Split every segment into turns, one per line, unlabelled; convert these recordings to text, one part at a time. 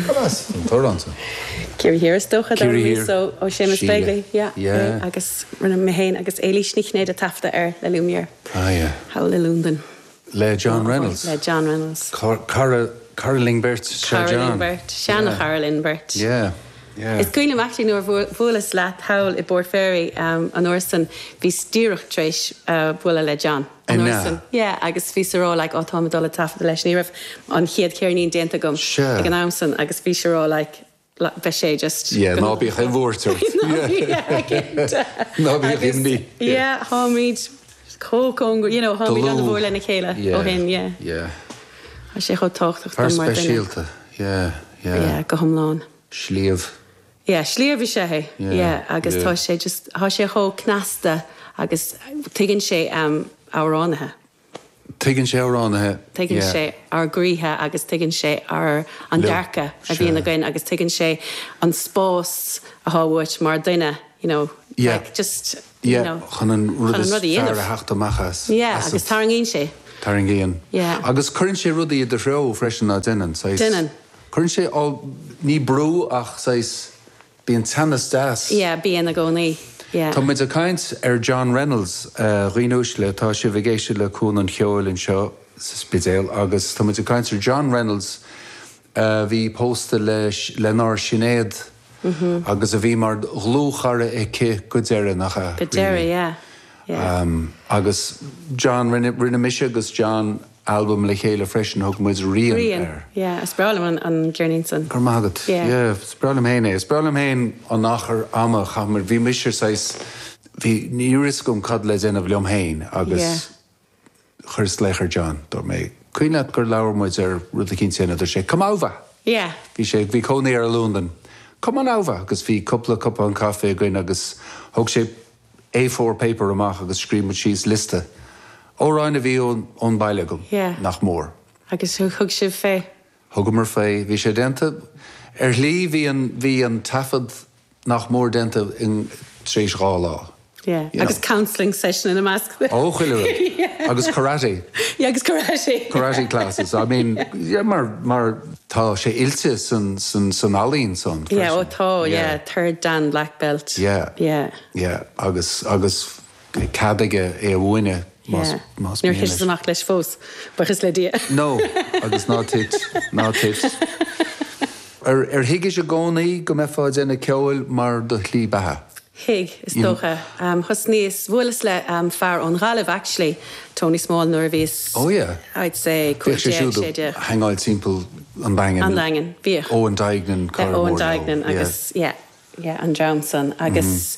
Cad as an t-amhrán
san? Ciarraí Thiar is dócha,
Ciarraí Thiar.
So ó Séamus Begley, yeah. Yeah. Agus rinne mé féin agus Éilís Ní Chinnéide taifeadadh air le Lumière.
Ah yeah.
Thall i Londain.
Le John Reynolds.
Le John Reynolds.
Cara, cara linn beirt, sea
John. Cara linn beirt, seana-chara linn beirt.
Yeah, yeah.
Is cuimhin liom actually nuair a bhuaileas leat thall i bPort Fairy an uair san, bhíos díreach tar éis bualadh le John an uair san. Yeah, agus bhíos a rá like, oh táim ag dul ag taifeadadh leis, ní raibh an chéad cheirnín déanta agam ag an am san agus bhís a rá like, beidh sé just.
Yeah, ná bíodh aon bhuairt ort.
Yeah, cinnte.
Ná bíodh imní.
Yeah, táimid chomh cóngarach, you know, táimid an-mhór lena chéile ó shin, yeah.
Yeah.
Tá sé chomh tábhachtach
dom mar duine. Fear speisialta, yeah, yeah.
Yeah, go hiomlán.
Sliabh.
Yeah, sliabh is ea é, yeah, agus tá sé just, tá sé chomh cneasta agus tuigeann sé amhránaithe.
Tuigeann sé amhránaithe.
Tuigeann sé ár gcroíthe agus tuigeann sé ár, an dearcadh a bhíonn againn agus tuigeann sé an spás atá uait mar duine, you know, like just, you know,
chun an rud is fearr a theacht amach as.
Yeah, agus tarraingíonn sé.
Tarraingíonn.
Yeah.
Agus cuireann sé rudaí i do threo freisin, ná déanann, saghas.
Déanann.
Cuireann sé, ní brú ach saghas Bíonn teannas deas.
Yeah, bíonn i gcónaí. Yeah.
Tá muid ag caint ar John Reynolds, a dhaoine uaisle, tá sibh ag éisteacht le Cuan an Cheoil anseo sa Spidéal agus tá muid ag caint ar John Reynolds a bhí pósta le lenár Sinéad agus a bhí mar dhlúthchara aici go deireadh, nach ea?
Go deireadh, yeah.
Yeah. Agus John, rinne, rinne mise agus John albam le chéile freisin, thug muid Rian
Rian, air. yeah, is breá liom an, an ceirnín san.
Go raibh maith agat.
Yeah.
Yeah, is breá liom féin é. Is breá liom féin an achar ama a chaith muid, bhí mise saghas, bhí, ní raibh fhios agam cad le déanamh liom féin agus
Yeah.
chuireas glaoch ar John, dúirt mé, cuimhin leat gur labhair muid ar rud eicínt a dhéanamh, dúirt sé, come over!
Yeah.
Bhí sé, bhí cónaí air i Londain, come on over! Agus bhí cúpla cupán caife againn agus thóg sé A4 paper amach agus scríobh muid síos liosta amhráin a bhí ón baile agam,
Yeah.
nach mór.
Agus thug sibh fé?
Thugamar fé. Bhí sé déanta. Ar shlí bhí an, bhí an taifead nach mór déanta in, tar éis 2 lá.
Yeah.
You know.
Agus counselling session ina measc.
Ó, chuile rud.
Yeah.
Agus karate.
Yeah, agus karate.
Karate classes. I mean, yeah, mar, mar tá sé oilte san, san, san ealaín san
Yeah,
freisin.
ó tá, yeah, third dan black belt.
Yeah.
Yeah.
Yeah, agus, agus cead aige é a mhúineadh más,
Yeah.
más
Níor
mian
thiteas
leis.
amach leis fós, buíochas le Dia.
No, agus ná tit, ná tit. Ar, ar thuigis i gcónaí go mbeifeá ag déanamh ceoil mar do shlí beatha?
Thuig, is dócha. Thosnaíos, bhuaileas le fear ón Ghaillimh actually, Tony Small, nuair a bhíos,
Oh yeah.
I'd say,
Bhíodh sé
15,
siúd
16.
ag hangáil timpeall an Daingin.
An Daingin, bhíodh.
Eoin Duignan, cara
Eoin
mór leo.
Duignan agus, yeah, yeah, an dream san. Agus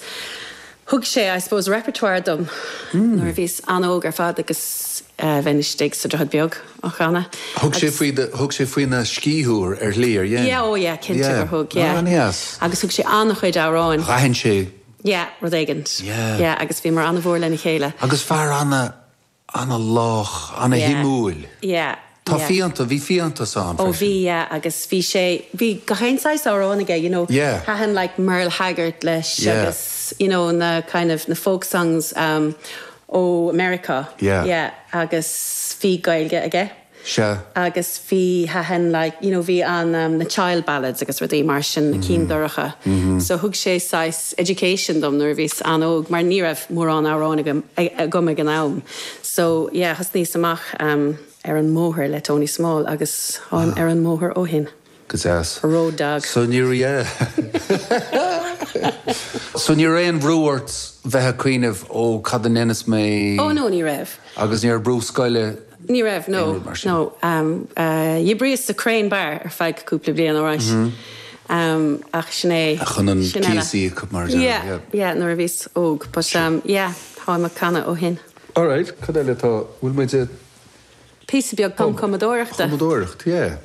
thug sé, I suppose, repertoire dom nuair a bhíos an-óg ar fad agus bheinn istigh sa Droichead Beag á chanadh.
Thug sé faoi do, thug sé faoina scíth thú ar shlí, ar dhein?
Yeah, oh yeah, cinnte gur thug, yeah.
Yeah, an-dheas.
Agus thug sé an-chuid amhráin.
D'aithin sé.
Yeah, rud éigint.
Yeah.
Yeah, agus bhíomar an-mhór lena chéile.
Agus fear ana, ana-lách, ana-shuimiúil.
Yeah, yeah.
Tá fiánta, bhí fiántas ann
Oh
freisin.
bhí, yeah, agus bhí sé, bhí gach aon saghas amhrán aige, you know.
Yeah.
Thaitin like Merle Haggard leis
Yeah.
agus, you know, na kind of, na folk songs um, ó Meiriceá.
Yeah.
Yeah, agus bhí Gaeilge aige.
Sea.
Agus bhí, thaitin like, you know, bhí an um, na child ballads agus rudaí mar sin, na cinn dorcha. So thug sé saghas education dom nuair a bhíos an-óg mar ní raibh mórán amhráin agam, agam ag an am. So yeah, thosnaíos amach um, ar an mbóthar le Tony Small agus táim ar an mbóthar ó shin.
Go deas.
Road dog.
So ní raibh, yeah. So ní raibh aon bhrú ort bheith ag cuimhneamh ó cad a ndéanfas mé?
Oh no, ní raibh.
Agus ní raibh brú scoile?
Ní raibh, no,
Aon rud mar sin.
no. D'oibríos sa Crane Bar ar feadh cúpla bliain, alright. Ach sin é.
Chun an
sin eile.
cíos a íoc mar a déarfá,
Yeah,
yeah.
yeah, nuair a bhíos óg. But yeah, táim ag canadh ó shin.
Alright, cad eile atá, bhfuil muid ag.
Píosa beag tumchumadóireachta.
Cumadóireacht, yeah.